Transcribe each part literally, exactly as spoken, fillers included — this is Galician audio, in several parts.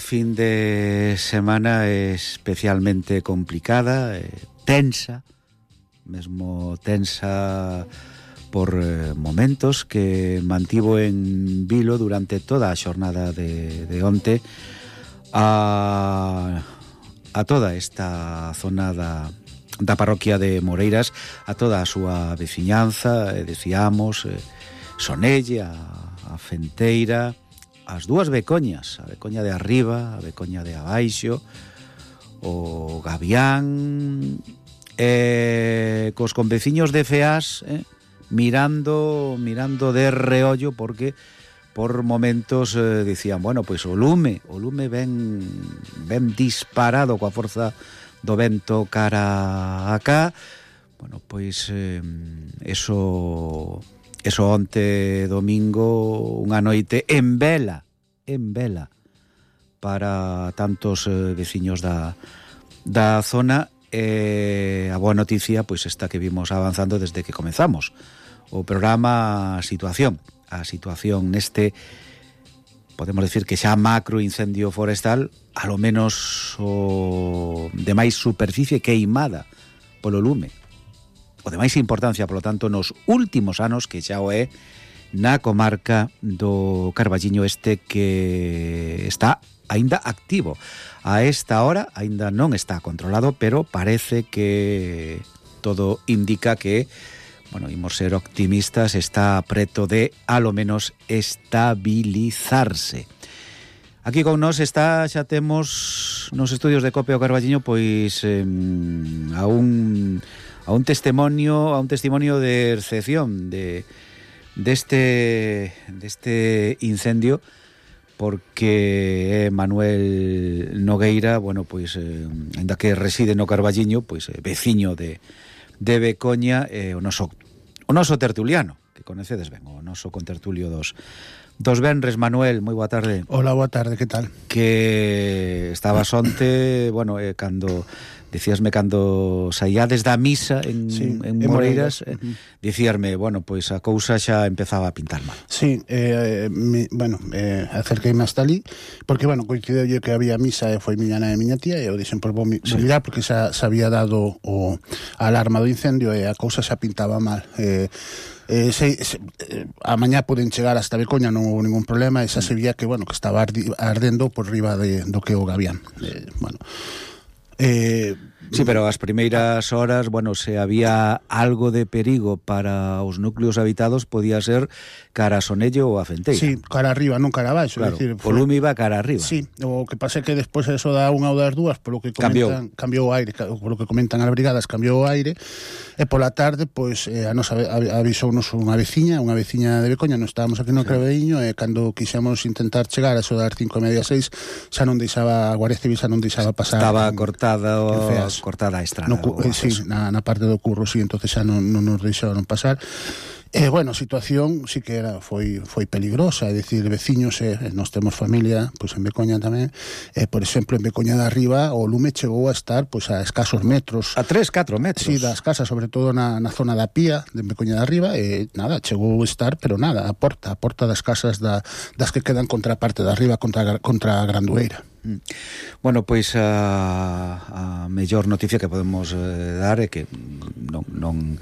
fin de semana especialmente complicada, eh, tensa, mesmo tensa por eh, momentos que mantivo en vilo durante toda a xornada de, de onte a, a toda esta zona da, da parroquia de Moreiras, a toda a súa veciñanza, eh, decíamos, eh, Sonelle, a, a Fenteira, as dúas Becoñas, a Becoña de arriba, a Becoña de abaixo, o Gavián, eh, cos conveciños de Feás, eh, mirando mirando de reollo, porque por momentos eh, dicían, bueno, pois o lume, o lume ven, ven disparado coa forza do vento cara acá. Bueno, pois eh, eso... Eso onte domingo, unha noite en vela, en vela, para tantos eh, veciños da, da zona. Eh, a boa noticia, pois esta que vimos avanzando desde que comezamos o programa, a situación, a situación neste, podemos decir que xa macro incendio forestal, a lo menos o de máis superficie queimada polo lume, o de máis importancia, polo tanto, nos últimos anos, que xa o é na comarca do Carballiño Este, que está aínda activo. A esta hora aínda non está controlado, pero parece que todo indica que, bueno, imos ser optimistas, está preto de, a lo menos, estabilizarse. Aquí con nós está, xa temos nos estudios de Cope o Carballiño, pois eh, a un... a un testimonio, a un testimonio de excepción de deste deste incendio, porque é Manuel Nogueira, bueno, pois eh, ainda que reside no Carballiño, pois eh, veciño de de Becoña, eh, o noso o noso tertuliano, que conocedes ben, o noso contertulio dos dos venres. Manuel, moi boa tarde. Hola, boa tarde, que tal? Que estabas onte, bueno, eh, cando dicíasme cando saíades da misa en, sí, en Moreiras, eh, uh-huh. dicíasme, bueno, pois a cousa xa empezaba a pintar mal. Sí, eh, mi, bueno, eh, acerqueime hasta ali, porque, bueno, coincideu que había misa e foi miña nai e miña tía, e eu dixen, pois, vou, vou sí. mirar, porque xa se había dado o a alarma do incendio e a cousa xa pintaba mal. Eh, Eh, se, se, eh, a mañá poden chegar hasta Becoña, non houve ningún problema, e xa se vía que, bueno, que estaba ardi, ardendo por riba de, do que o Gavián. Eh, bueno, eh, sí, pero as primeiras horas, bueno, se había algo de perigo para os núcleos habitados, podía ser cara a Sonelle ou a Fenteira. Sí, cara arriba, non cara abaixo. Claro, decir, o lume iba cara arriba. Sí, o que pasa é que despois eso da unha ou das dúas, polo que comentan, cambiou o aire, polo que comentan as brigadas, cambiou o aire, e pola tarde, pois, eh, a nos avisounos unha veciña, unha veciña de Becoña, non estábamos aquí no sí. Carballiño, e cando quixemos intentar chegar a eso das cinco e media, seis, xa non deixaba, a Guardia Civil xa non deixaba pasar. Estaba en, cortada o, cortada a estrada. No, eh, sí, na, na parte do curro, sí, entonces xa non, non nos deixaron pasar. E, eh, bueno, a situación sí que era foi foi peligrosa, é dicir, veciños, eh, nós temos familia, pois en Becoña tamén, eh, por exemplo, en Becoña de arriba o lume chegou a estar pois a escasos metros. A tres, catro metros. Sí, das casas, sobre todo na, na zona da Pía, de Becoña de arriba, e nada, chegou a estar, pero nada, a porta, a porta das casas da, das que quedan contra a parte de arriba, contra, contra a Grandueira. Bueno, pois a, a mellor noticia que podemos eh, dar é que non, non,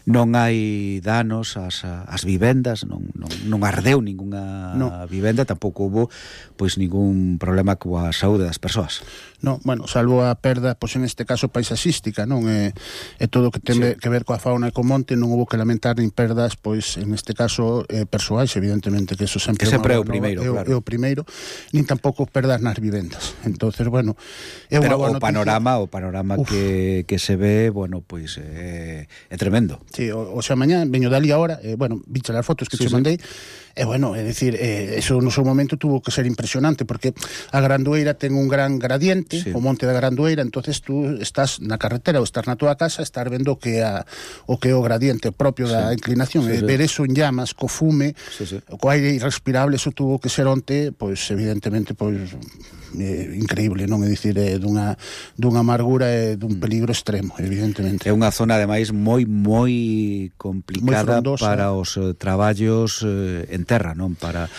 non hai danos ás, ás vivendas, non, non, non ardeu ningunha no. vivenda, tampouco hubo pois ningún problema coa saúde das persoas. No, bueno, salvo a perda, pois en este caso paisaxística, non é, é todo o que ten sí. que ver coa fauna e co monte, non hubo que lamentar nin perdas, pois en este caso eh, persoais, evidentemente, que eso sempre, que sempre é o primeiro, é, claro. É o primeiro, nin tampouco perdas nas vivendas. Entonces, bueno, é unha Pero boa o panorama, o panorama que, que se ve, bueno, pois é, é tremendo. Sí, o, o sea, mañá veño dali ahora, eh, bueno, viche as fotos que sí, te sí. mandei. E, bueno, é dicir, eh, eso no seu momento tuvo que ser impresionante, porque a Grandueira ten un gran gradiente, sí. o monte da Grandueira, entonces tú estás na carretera ou estás na tua casa, estás vendo que a, o que é o gradiente propio sí. da inclinación, sí, e sí. ver eso en llamas, co fume, sí, sí. co aire irrespirable, eso tuvo que ser onte, pois, evidentemente, pois, eh, increíble, non? É dicir, eh, dunha, dunha amargura e dun peligro extremo, evidentemente. É unha zona, ademais, moi, moi complicada moi para os eh, traballos eh, en en terra, non, para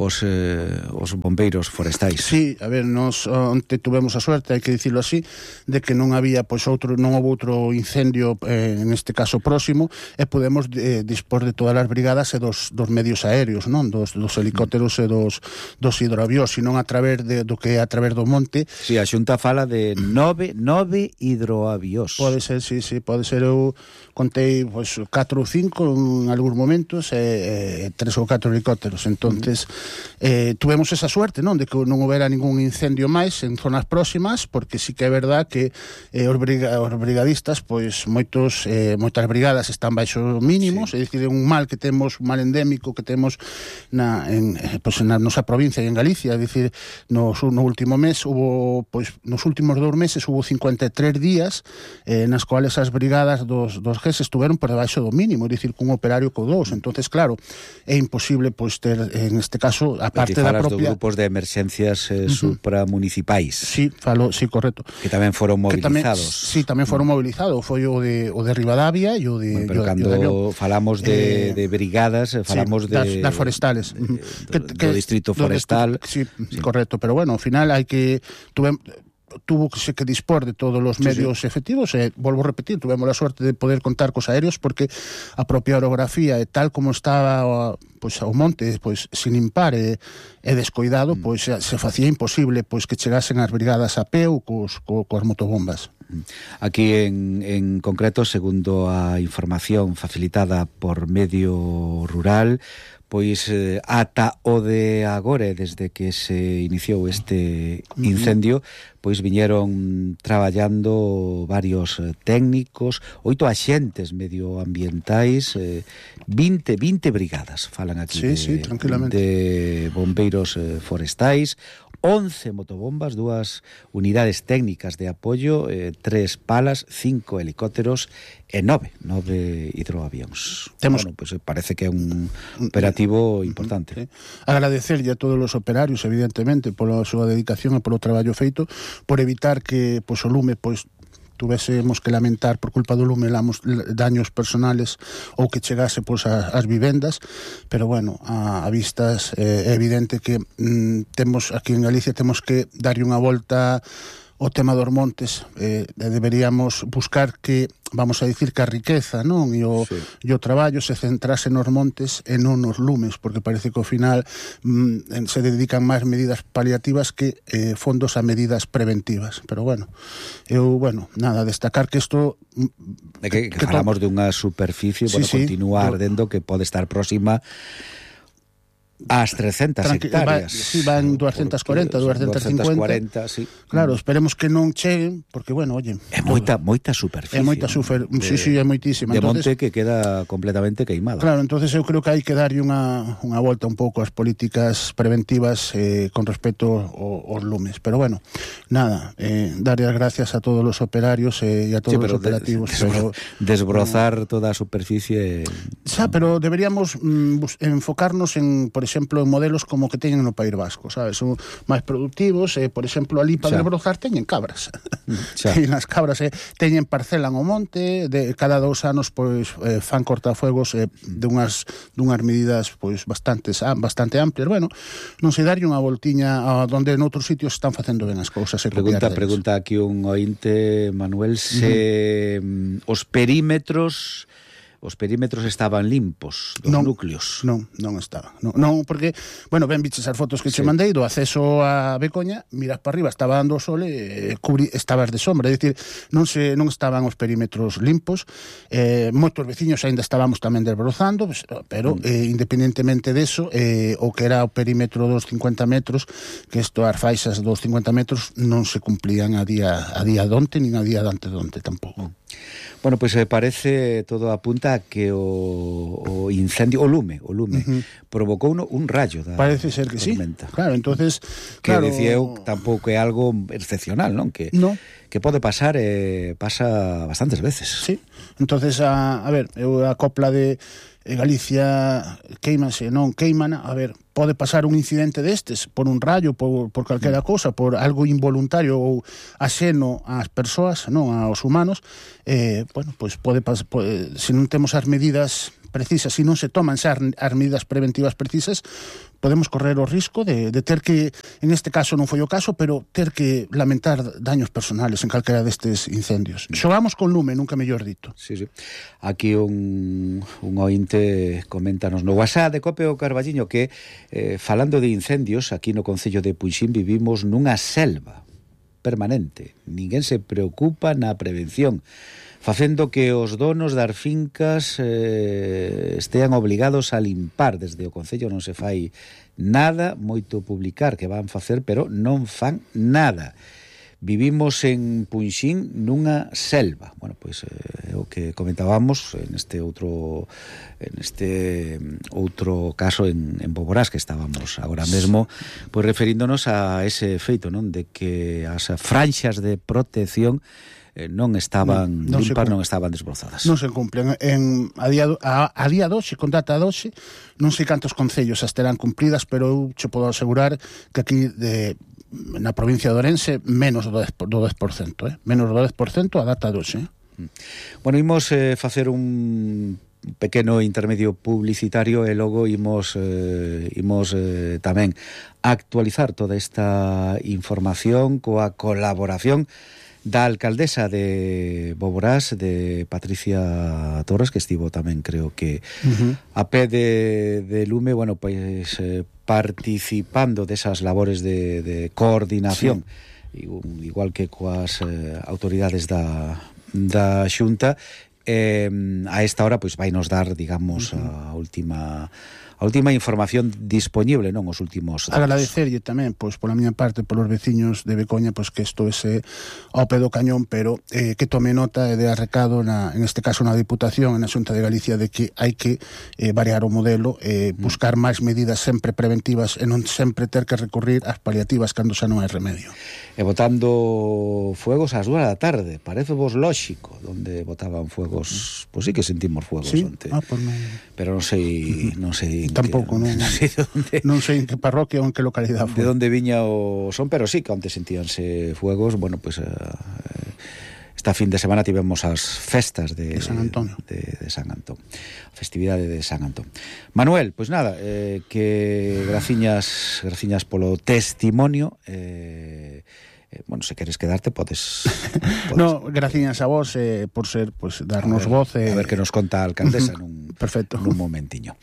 os, eh, os bombeiros forestais. Sí, a ver, nos onte tuvemos a suerte, hai que dicirlo así, de que non había, pois, outro, non houve outro incendio, eh, en este caso próximo, e podemos eh, dispor de todas as brigadas e dos, dos medios aéreos, non, dos, dos helicópteros e dos, dos hidroavións, senón a través de, do que é a través do monte. Sí, a Xunta fala de nove, nove hidroavións. Pode ser, sí, sí, pode ser. Eu contei, pois, catro ou cinco en algúns momentos e, e tres ou catro helicópteros. Entonces, uh-huh. eh, tuvemos esa suerte, non, de que non houbera ningún incendio máis en zonas próximas, porque sí que é verdad que eh, os, briga, os brigadistas, pois, moitos, eh, moitas brigadas están baixo mínimos, sí. É dicir, un mal que temos, un mal endémico que temos na, en, pois, na nosa provincia e en Galicia, é dicir, nos, no último mes hubo, pois, nos últimos dous meses hubo cincuenta e tres días eh, nas cuales as brigadas dos, dos G E S estuveron por debaixo do mínimo, é dicir, cun operario co dous. Entonces, claro, é imposible, pois, ter, en este caso, a parte da propia... dos grupos de emerxencias eh, uh-huh. supramunicipais. Sí, falo, sí, correcto. Que tamén foron movilizados. Tamén, sí, tamén foron uh-huh. movilizados. Foi o de, o de Rivadavia e o de... Bueno, pero o, cando o de falamos de, eh, de brigadas, falamos sí, de... Das, das forestales. De, do, do, do distrito forestal. Do, sí, sí, correcto. Pero bueno, ao final hai que... Tuve, tuvo que se que dispor de todos os medios sí, sí. efectivos e, volvo a repetir, tuvemos a sorte de poder contar cos aéreos porque a propia orografía e tal como estaba pois, o monte pois, sin impar e, e descoidado, mm. pois se facía imposible pois que chegasen as brigadas a pé ou cos, co, coas motobombas. Aquí en, en concreto, segundo a información facilitada por Medio Rural, pois eh, ata o de agora, desde que se iniciou este incendio, pois viñeron traballando varios eh, técnicos, oito axentes medioambientais, eh, vinte, vinte brigadas, falan aquí sí, de, sí, tranquilamente. de bombeiros eh, forestais, once motobombas, dúas unidades técnicas de apoio, eh, tres palas, cinco helicópteros e nove, nove hidroavións. Temos... Bueno, pues parece que é un operativo importante. Sí. Agradecerlle a todos os operarios, evidentemente, pola súa dedicación e polo traballo feito, por evitar que pois, o lume pois, tuvésemos que lamentar por culpa do lume lamos, daños personales ou que chegase pois, a, as vivendas, pero bueno, a, a vistas eh, é evidente que mm, temos aquí en Galicia temos que darlle unha volta o tema dos montes, eh, deberíamos buscar que, vamos a dicir que a riqueza, non? E o, sí. e o traballo se centrase nos montes e non nos lumes, porque parece que ao final mm, se dedican máis medidas paliativas que eh, fondos a medidas preventivas. Pero bueno, eu, bueno, nada, destacar que isto... De que, que, que falamos to... de unha superficie, sí, bueno, sí, continúa ardendo que pode estar próxima ás trescentas Tranqui hectáreas. Va, sí, van doscientas cuarenta, doscientas cincuenta. Sí. Claro, esperemos que non cheguen, porque, bueno, oye... É moita, moita superficie. É moita super... ¿no? Sí, sí, é moitísima. De entonces, monte que queda completamente queimada. Claro, entonces eu creo que hai que darlle unha, unha volta un pouco ás políticas preventivas eh, con respecto aos lumes. Pero, bueno, nada, eh, darlle as gracias a todos os operarios eh, e a todos sí, os operativos. Des, pero, desbrozar no, toda a superficie... Xa, pero deberíamos mm, enfocarnos en, por exemplo, en modelos como que teñen no País Vasco, sabes? Son máis productivos, eh, por exemplo, ali para desbrozar teñen cabras. Teñen as cabras, eh, teñen parcelan o monte, de cada dous anos pois eh, fan cortafuegos eh, de unhas dunhas medidas pois bastantes bastante amplias. Bueno, non se darlle unha voltiña a donde noutros sitios están facendo ben as cousas. E pregunta, pregunta aquí un ointe, Manuel, se uh-huh. os perímetros os perímetros estaban limpos dos non, núcleos. Non, non estaban. Non, non, porque, bueno, ben biches as fotos que sí. che mandei do acceso a Becoña, miras para arriba, estaba dando o sol e cubri, estabas de sombra, é dicir, non se non estaban os perímetros limpos. Eh, moitos veciños aínda estábamos tamén desbrozando, pero mm. eh, independentemente deso, eh, o que era o perímetro dos cincuenta metros, que isto as faixas dos cincuenta metros non se cumplían a día a día donte, nin a día dante donte tampouco. Mm. Bueno, pois pues, parece, todo apunta a que o, o incendio, o lume, o lume, uh-huh. provocou un, un rayo da Parece ser que tormenta. Sí. Claro, entonces, que claro, decía eu, tampouco é algo excepcional, non? Que no. que pode pasar, eh, pasa bastantes veces. Sí. Entonces, a, a ver, eu a copla de Galicia queimase, non queimana, a ver, pode pasar un incidente destes por un rayo, por, por calquera cousa, por algo involuntario ou axeno ás persoas, non aos humanos, eh, bueno, pois pode pasar, pode, se non temos as medidas precisas, se non se toman xa as medidas preventivas precisas, podemos correr o risco de, de ter que, en este caso non foi o caso, pero ter que lamentar daños personales en calquera destes incendios. Xogamos con lume, nunca mellor dito. Sí, sí. Aquí un, un ointe coméntanos no WhatsApp de Cope o Carballiño que eh, falando de incendios, aquí no concello de Puixín vivimos nunha selva permanente. Ninguén se preocupa na prevención, facendo que os donos das fincas eh, estean obligados a limpar. Desde o concello non se fai nada, moito publicar que van facer, pero non fan nada. Vivimos en Puixín nunha selva. Bueno, pois é eh, o que comentábamos en este outro en este outro caso en, en Boborás, que estábamos agora mesmo pois referíndonos a ese feito, non, de que as franxas de protección eh, non estaban non, non limpas, non estaban desbrozadas. Non se cumplen. En, a, día, a, a día doxe, con data doxe, non sei cantos concellos as terán cumpridas, pero eu che podo asegurar que aquí de na provincia de Ourense menos do dez por cento, eh? menos do dez por cento a data doxe. Eh? Bueno, imos eh, facer un pequeno intermedio publicitario e logo imos, eh, imos eh, tamén actualizar toda esta información coa colaboración da alcaldesa de Boborás, de Patricia Torres, que estivo tamén, creo que uh-huh. a pé de, de lume, bueno, pois eh, participando desas labores de, de coordinación, sí. igual que coas eh, autoridades da, da Xunta. Eh, a esta hora, pois, vai nos dar, digamos, uh-huh. a última... a última información disponible, non, os últimos datos. Agradecerlle tamén, pois, pola miña parte, polos veciños de Becoña, pois, que isto ese ao pé do cañón, pero eh, que tome nota e de arrecado, na, en este caso na Diputación, na Xunta de Galicia, de que hai que eh, variar o modelo, eh, buscar máis medidas sempre preventivas e non sempre ter que recurrir ás paliativas cando xa non hai remedio. E botando fuegos ás dúas da tarde, parece vos lóxico, donde botaban fuegos, pois sí que sentimos fuegos sí? onte. Ah, pues no. Pero non sei, non sei tampouco, non, non, sei onde, non sei en que parroquia ou en que localidade foi. De onde viña o son, pero sí que onte sentíanse fuegos. Bueno, pues eh, esta fin de semana tivemos as festas de, de San Antón, de, de San Antón, festividade de San Antón. Manuel, pois pues nada, eh, que graciñas, graciñas polo testimonio. Eh, eh, bueno, se queres quedarte podes, podes. No, graciñas a vos eh, por ser, pues, darnos a ver, voz eh... a ver que nos conta a alcaldesa nun, perfecto, nun momentiño.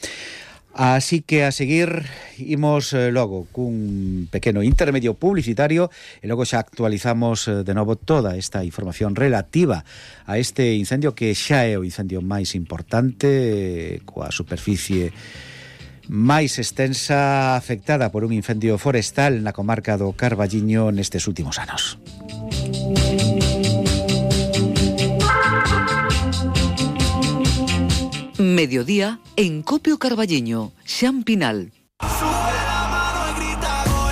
Así que a seguir imos eh, logo cun pequeno intermedio publicitario e logo xa actualizamos eh, de novo toda esta información relativa a este incendio que xa é o incendio máis importante, eh, coa superficie máis extensa afectada por un incendio forestal na comarca do Carballiño nestes últimos anos. Mediodía en Cope o Carballiño, Xan Pinal.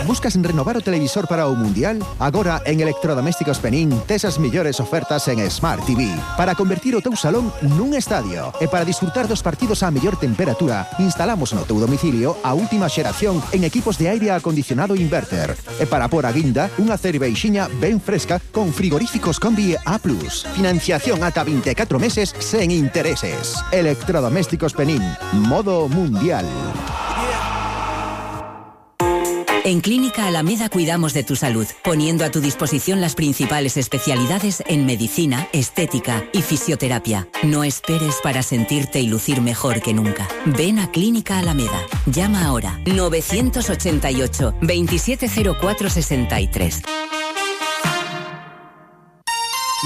Buscas renovar o televisor para o Mundial? Agora en Electrodomésticos Penín tes as mellores ofertas en Smart T V para convertir o teu salón nun estadio. E para disfrutar dos partidos á mellor temperatura, instalamos no teu domicilio a última xeración en equipos de aire acondicionado inverter. E para por a guinda, unha cerveixiña ben fresca con frigoríficos Combi A plus. Financiación ata vinte e catro meses sen intereses. Electrodomésticos Penín, modo Mundial. En Clínica Alameda cuidamos de tu salud, poniendo a tu disposición las principales especialidades en medicina, estética y fisioterapia. No esperes para sentirte y lucir mejor que nunca. Ven a Clínica Alameda. Llama ahora nueve ocho ocho, veintisiete cero cuatro sesenta y tres.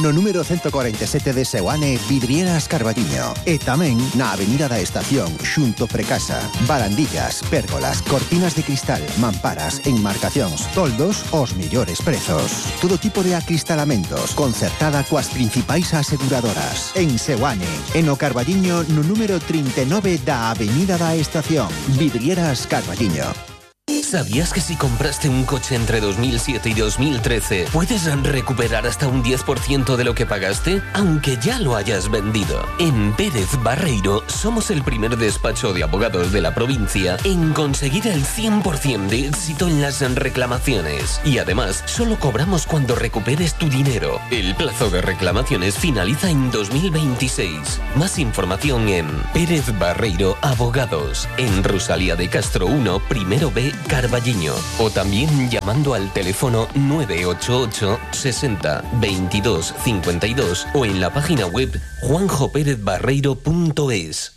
No número ciento cuarenta y siete de Seoane, Vidrieras Carballiño. E tamén na Avenida da Estación, xunto Precasa. Barandillas, pérgolas, cortinas de cristal, mamparas, enmarcacións, toldos, os millores prezos. Todo tipo de acristalamentos, concertada coas principais aseguradoras. En Seoane, en o Carballiño, no número trinta e nove da Avenida da Estación. Vidrieras Carballiño. ¿Sabías que si compraste un coche entre dos mil siete y dos mil trece puedes recuperar hasta un diez por ciento de lo que pagaste, aunque ya lo hayas vendido? En Pérez Barreiro somos el primer despacho de abogados de la provincia en conseguir el cien por ciento de éxito en las reclamaciones. Y además, solo cobramos cuando recuperes tu dinero. El plazo de reclamaciones finaliza en dos mil veintiséis. Más información en Pérez Barreiro Abogados, en Rosalía de Castro uno, primero B, Carballiño. O también llamando al teléfono nueve ocho ocho sesenta veintidós cincuenta y dos o en la página web juanjo pérez barreiro punto es.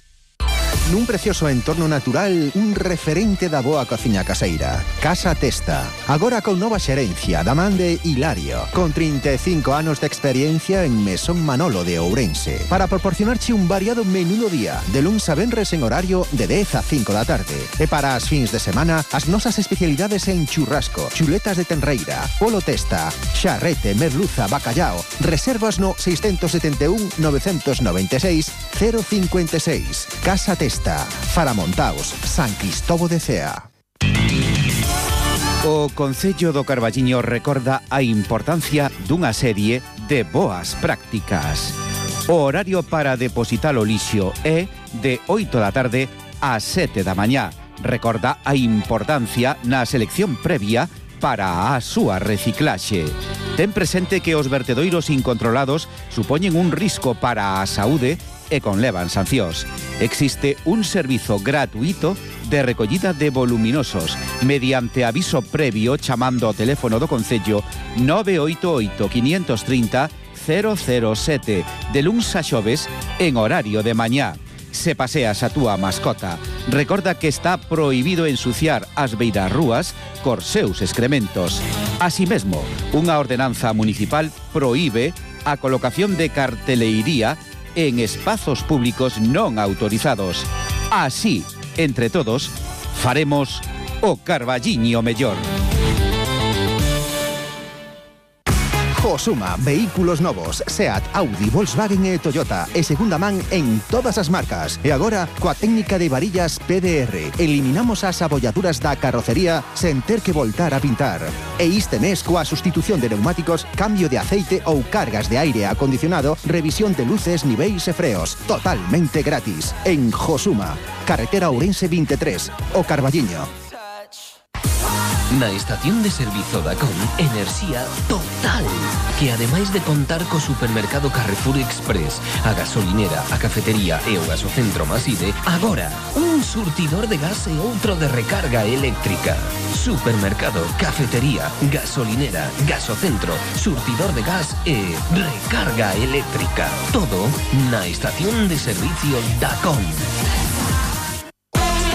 Nun precioso entorno natural, un referente da boa cociña caseira. Casa Testa. Agora con nova xerencia da man de Hilario, con trinta e cinco anos de experiencia en Mesón Manolo de Ourense, para proporcionarche un variado menú do día, de luns a venres en horario de dez a cinco da tarde. E para as fins de semana, as nosas especialidades en churrasco, chuletas de tenreira, polo testa, xarrete, merluza, bacallao. Reservas no seis sete un nove nove seis cero cinco seis. Casa Testa. Faramontaos, San Cristobo de Cea. O Concello do Carballiño recorda a importancia dunha serie de boas prácticas. O horario para depositar o lixo é de oito da tarde a sete da mañá. Recorda a importancia na selección previa para a súa reciclaxe. Ten presente que os vertedoiros incontrolados supoñen un risco para a saúde e conlevan sancións. Existe un servizo gratuito de recollida de voluminosos mediante aviso previo chamando ao teléfono do Concello nove oito oito, cinco tres cero, cero cero sete de luns a xoves en horario de mañá. Se paseas a túa mascota, recorda que está prohibido ensuciar as beiras rúas cos seus excrementos. Así mesmo, unha ordenanza municipal prohíbe a colocación de carteleiría en espazos públicos non autorizados. Así, entre todos, faremos o Carballiño mellor. Josuma, vehículos novos, Seat, Audi, Volkswagen e Toyota e segunda man en todas as marcas. E agora, coa técnica de varillas P D R, eliminamos as abolladuras da carrocería sen ter que voltar a pintar. E este mes, coa sustitución de neumáticos, cambio de aceite ou cargas de aire acondicionado, revisión de luces, niveis e freos, totalmente gratis. En Josuma, carretera Ourense veintitrés, o Carballiño. Na estación de servizo da C O M, enerxía total, que ademais de contar co supermercado Carrefour Express, a gasolinera, a cafetería e o gasocentro Maside, agora un surtidor de gas e outro de recarga eléctrica. Supermercado, cafetería, gasolinera, gasocentro, surtidor de gas e recarga eléctrica. Todo na estación de servicio da C O M.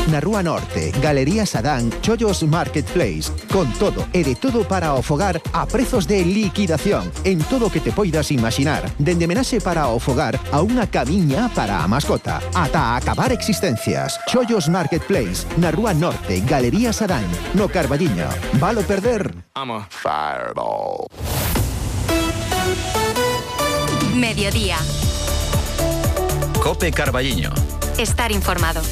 Na Rúa Norte, Galería Sadán, Chollos Marketplace. Con todo e de todo para o fogar a prezos de liquidación en todo o que te poidas imaginar. Dende menaxe para o fogar a unha camiña para a mascota. Ata acabar existencias. Chollos Marketplace, na Rúa Norte, Galería Sadán, no Carballiño. Valo perder? I'm a fireball. Mediodía. Cope Carballiño. Estar informado.